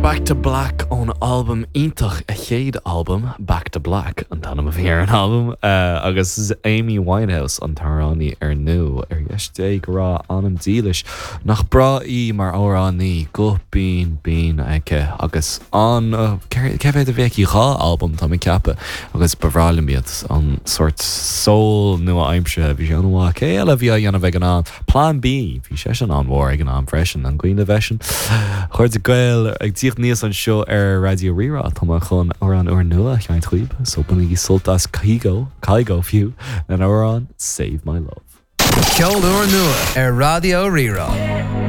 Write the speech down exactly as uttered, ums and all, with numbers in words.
Back to Black ón albam iontach a chéad albam Back to Black an t-ainm a bhí ar an albam uh, agus Amy Winehouse an t-amhránaí ar ndóigh ar dheis Dé go raibh a anam dílis nach breá í mar amhránaí guth binn binn aici agus an uh, cé mhéad a bhí aici dhá albam tá mé ag ceapadh agus ba bhreá liom iad an sort soul nua-aimseartha bhí sé an-mhaith cé eile bhí á dhéanamh ag an am Plan B bhí sé sin an-mhór ag an am freisin an cuimhin libh sin Chairde Gael ag tíocht níos anseo ar Raidió Rí-Rá tá chun amhrán úrnua a sheinnt daoibh so bainigí sult as Kygo Kygo fiú an amhrán Save My Love. Ceol úrnua ar Raidió Rí-Rá.